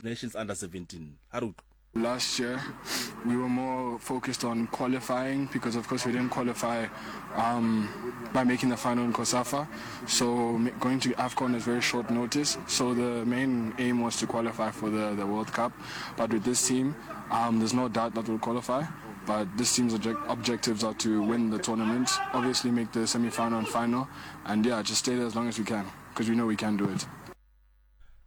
Nations Under 17. Ha re utlwe. Last year we were more focused on qualifying because of course we didn't qualify um, by making the final in COSAFA. So going to AFCON is very short notice. So the main aim was to qualify for the, the World Cup. But with this team, um, there's no doubt that we'll qualify. But this team's objectives are to win the tournament, obviously make the semi-final and final, and yeah, just stay there as long as we can because we know we can do it.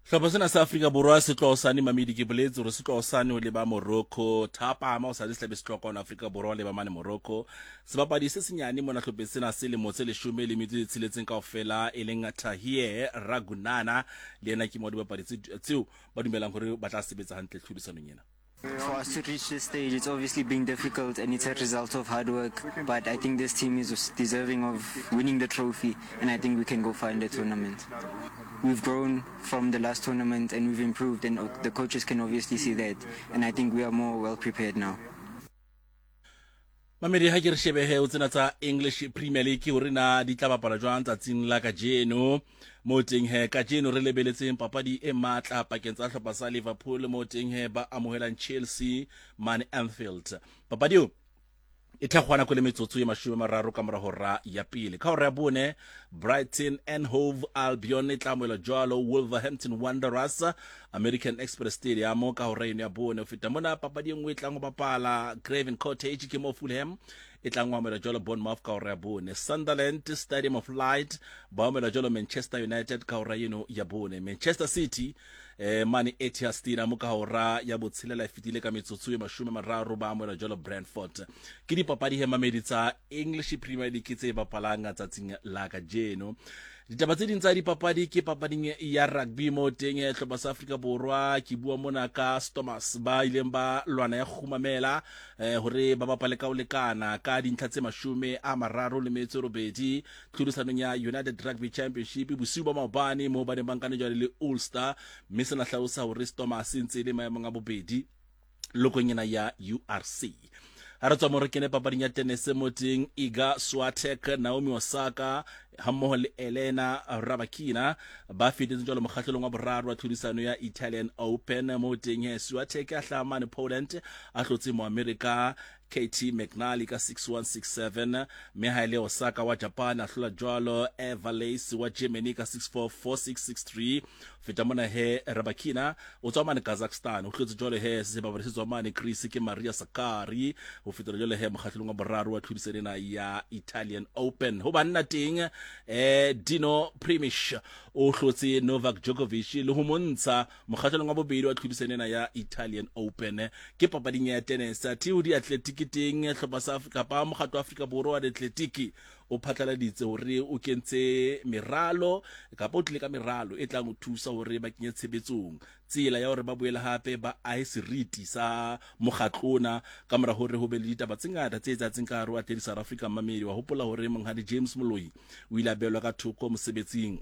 Hlopha sena sa Afrika Borwa se tloha hosane Mamedi ke boletse hore se tloha hosane ho leba Morocco thapama hosane se tlabe se tloha kwano Afrika Borwa ho leba mane Morocco sebapadi se senyane mona hlopheng sena se lemo tse leshome le metso e tsheletseng kaofela e leng Tahir Ragunana le yena ke mo dibapadi tseo ba dumelang hore ba tla sebetsa hantle tlhodisanong ena. For us to reach this stage, it's obviously been difficult and it's a result of hard work. But I think this team is deserving of winning the trophy, and I think we can go far in the tournament. We've grown from the last tournament and we've improved, and the coaches can obviously see that. And I think we are more well prepared now. Mamedi ha ke re shebehe o tsena tsa English Premier League hore na di tla bapala jwang tsatsing la kajeno. Mo teng he kajeno re lebeletseng papadi e matla pakeng tsa hlopha sa Liverpool mo teng he ba amohelang Chelsea mane Anfield. Papadi eo e thakgwa nako le metsotso e mashome mararo ka mora hora ya pele. Ka hora ya bone Brighton and Hove Albion e tla amohela jwalo Wolverhampton Wanderers American Express Stadium ka hora eno ya bone. Ho feta mona papadi e nngwe e tlang ho bapala Craven Cottage ke mo Fulham e tlang ho amohela jwalo Bournemouth ka hora ya bone. Sunderland Stadium of Light ba amohela jwalo Manchester United ka hora eno ya bone. Manchester City eh, mane Etihad Stadium ka hora ya botshelela e fetile ka metsotso e mashome mararo ba amohela jwalo Brentford. Ke dipapadi he mamedi tsa English Premier League tse bapalang tsatsing la kajeno. Ditaba tse ding tsa dipapadi ke papading ya rugby mo teng eh, hlopha sa Afrika Borwa ke bua mona ka Stormers ba ileng ba lwana ya kgumamela eh, hore ba bapale ka ho lekana ka dintlha tse mashome a mararo le metso e robedi tlhodisanong ya United Rugby Championship bosiu ba maobane moo ba neng ba nkane jwale le Ulster mme sena hlalosa hore Stormers e ntse e le maemong a bobedi lokong ena ya URC. Ha re tswa mo re kene papading ya tenese mo teng Iga Swiatek, Naomi Osaka hammoho le Elena Rybakina ba fetetse jwalo mokgahlelong wa boraro wa tlhodisano ya Italian Open mo teng he Swiatek a hlaha mane Poland a hlotse Moamerika Katie McNally ka 6-1 6-7 mme ha e le Osaka wa Japan a hlola jwalo Eva Lace wa Germany ka 6-4 4-6 6-3 feta mona he Rybakina o tswa mane Kazakhstan o hlotse jwale he sebapadi se tswa mane Greece ke Maria Sakkari ho fetela jwale he mokgahlelong wa boraro wa tlhodisano ena ya Italian Open ho banna teng eh Dino Primish o hlotse Novak Djokovic le ho montsha mokgahlelong wa bobedi wa tlhodisano ena ya Italian Open ke papading ya tennis athe ho diatletiki teng hlopha sa kapa mokgatlo wa Afrika Borwa wa diatletiki o phatlaladitse hore o kentse meralo kapa o tlile ka meralo e tlang ho thusa hore ba kenye tshebetsong tsela ya hore ba boele hape ba ahe seriti sa mokgatlo ona ka mora hore ho be le ditaba tse ngata tse etsahatseng ka hare ho Athletics South Africa. Mmamedi wa hopola hore monghadi James Moloi o ile a beelwa ka thoko mosebetsing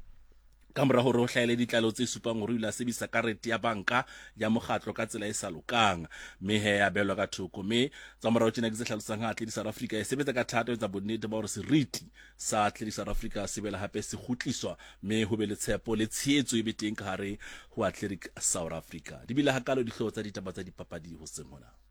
ka mora hore ho hlahele ditlaleho tse supang hore o ile a sebedisa karete ya banka ya mokgatlo ka tsela e sa lokang mme he ya beelwa ka thoko mme tsa morao tjena ke tse hlalosang ha Athletics South Africa e sebetsa ka thata ho etsa bonnete ba hore seriti sa Athletics South Africa se boela hape se kgutliswa mme ho be le tshepo le tshehetso e be teng ka hare ho Athletic South Africa. Di bile hakalo dihlooho tsa ditaba tsa dipapadi hoseng hona.